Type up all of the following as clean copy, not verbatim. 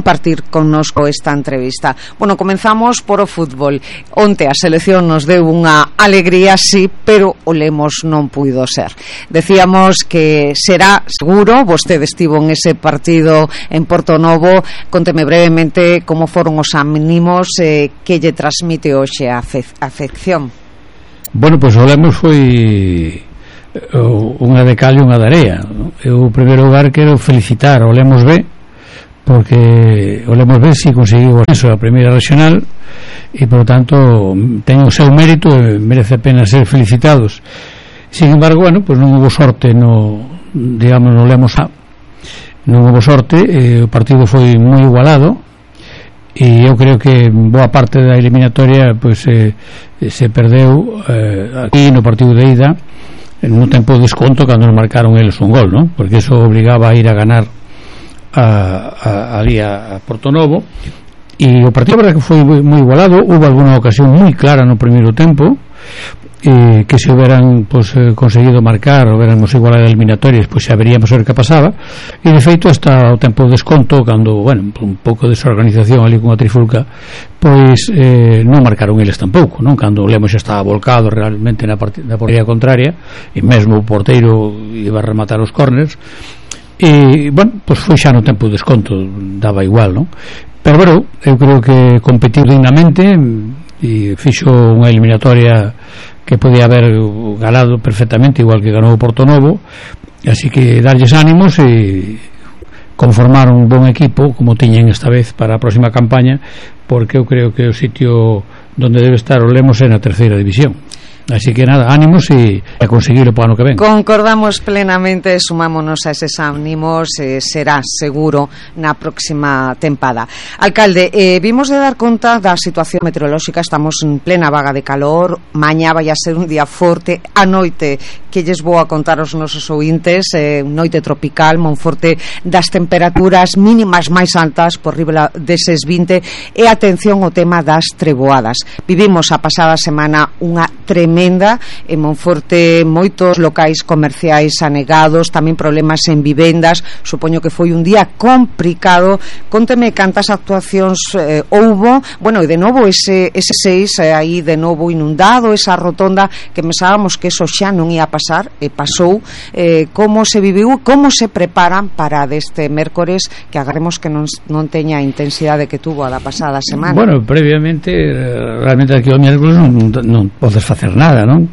compartir connosco esta entrevista. Bueno, comenzamos por o fútbol. Onte a selección nos deu unha alegría, sí, pero o Lemos non puido ser. Decíamos que será seguro, vostede estivo en ese partido en Portonovo. Conteme brevemente como foron os ánimos que lle transmite hoxe a afección. Bueno, pois o Lemos foi unha de cal e unha de area. Eu, en primeiro lugar, quero felicitar ao Lemos B, porque o Lemos B si conseguiu o ascenso a primeira regional e, por tanto, ten o seu mérito e merece a pena ser felicitados. Sin embargo, bueno, pues non houve sorte no Lemos A. Non houve sorte, o partido foi moi igualado e eu creo que boa parte da eliminatoria pues, se perdeu aquí no partido de ida no tempo de desconto cando nos marcaron eles un gol, ¿no? Porque eso obligaba a ir a ganar ali a Portonovo, e o partido, verdad, que foi moi igualado. Houve alguna ocasión moi clara no primeiro tempo que se houberan pues, conseguido marcar, houberamos igualado a eliminatorias, pois pues, xa veríamos ver que pasaba, e de feito hasta o tempo de desconto, cando, bueno, un pouco de desorganización ali con a trifulca, pois non marcaron eles tampouco, non? Cando o Lemos xa estaba volcado realmente na portería contraria, e mesmo o porteiro iba a rematar os corners, e, bueno, pois foi xa no tempo de desconto, daba igual, non? Pero, bueno, eu creo que competiu dignamente e fixo unha eliminatoria que podía haber ganado perfectamente, igual que ganou o Portonovo, así que darlles ánimos e conformar un bon equipo como tiñen esta vez para a próxima campaña, porque eu creo que o sitio donde debe estar o Lemos é na terceira división. Así que nada, ánimos e a conseguirlo para o ano que ven. Concordamos plenamente, sumámonos a eses ánimos, será seguro na próxima tempada. Alcalde, vimos de dar conta da situación meteorolóxica, estamos en plena vaga de calor, mañá vai a ser un día forte, a noite que lles vou a contar aos nosos ouvintes, noite tropical, Monforte, das temperaturas mínimas máis altas por riba deses 20, e atención ao tema das treboadas. Vivimos a pasada semana unha tremenda en Monforte, moitos locais comerciais anegados, tamén problemas en vivendas. Supoño que foi un día complicado. Conteme cantas actuacións houbo. Bueno, e de novo ese 6 aí de novo inundado, esa rotonda que pensábamos que eso xa non ia pasar e pasou. Como se viviu, como se preparan para deste mércores, que agarremos que non teña a intensidade que tuvo a da pasada semana? Bueno, previamente, realmente aquí o mércores non podes facer nada, non?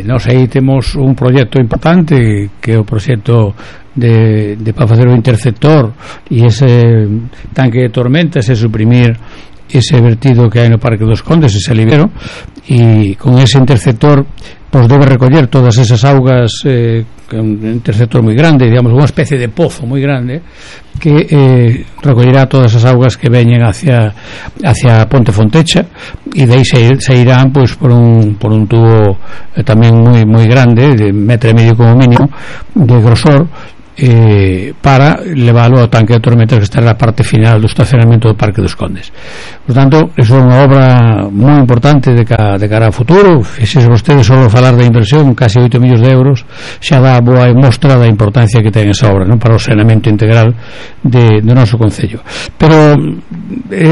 Nós aí temos un proxecto importante que é o proxecto de para facer o interceptor e ese tanque de tormentas e suprimir ese vertido que hai no Parque dos Condes, ese alivero, e con ese interceptor pois debe recoller todas esas augas, un interceptor moi grande, digamos, unha especie de pozo moi grande que recollerá todas as augas que veñen hacia Ponte Fontecha, e de aí se irán pois por un tubo tamén moi grande, de 1,5 metros como mínimo de grosor, para leválo ao tanque de tormentas que está na parte final do estacionamento do Parque dos Condes. Por tanto, eso é unha obra moi importante de cara ao futuro. Fixes vostedes só falar da inversión, casi 8 millóns de euros, xa dá boa mostra da importancia que ten esa obra, non, para o saneamento integral do noso concello. Pero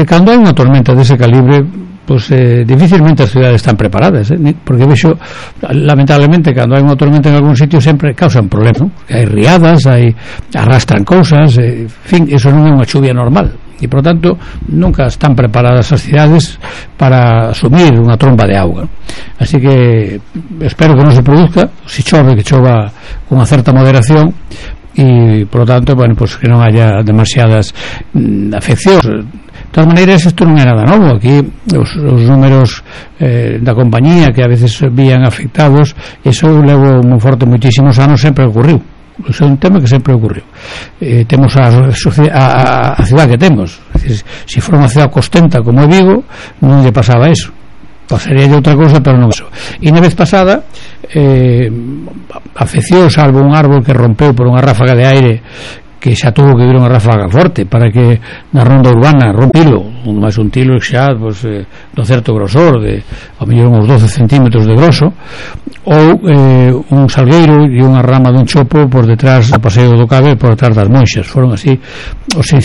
cando hai unha tormenta dese calibre, pues difícilmente as cidades están preparadas, porque vexo, lamentablemente, cando hai unha tormenta en algún sitio sempre causan problemas, ¿no? Hai riadas, arrastran cousas, en fin, eso non é unha chuvia normal, e por tanto nunca están preparadas as cidades para asumir unha tromba de auga. Así que espero que non se produzca, se chove, que chova con unha certa moderación, e por tanto, bueno, pues que non haya demasiadas afeccións. De todas maneiras, isto non é nada novo. Aquí os números da compañía que a veces vían afectados, eso levo moi forte moitísimos anos, sempre ocurriu. Iso é un tema que sempre ocurriu. Temos a cidade que temos. Es decir, se for unha cidade costenta como Vigo, non lle pasaba eso. Pasaría de outra cousa, pero non eso. E na vez pasada afección, salvo un árbol que rompeu por unha ráfaga de aire, que xa tuvo que vir unha ráfaga forte para que na ronda urbana rompilo, máis un tilo xa pues, do certo grosor, de ao mellor uns 12 centímetros de groso, ou un salgueiro e unha rama dun chopo por detrás do paseo do Cabe, por detrás das Monxas. Foron así os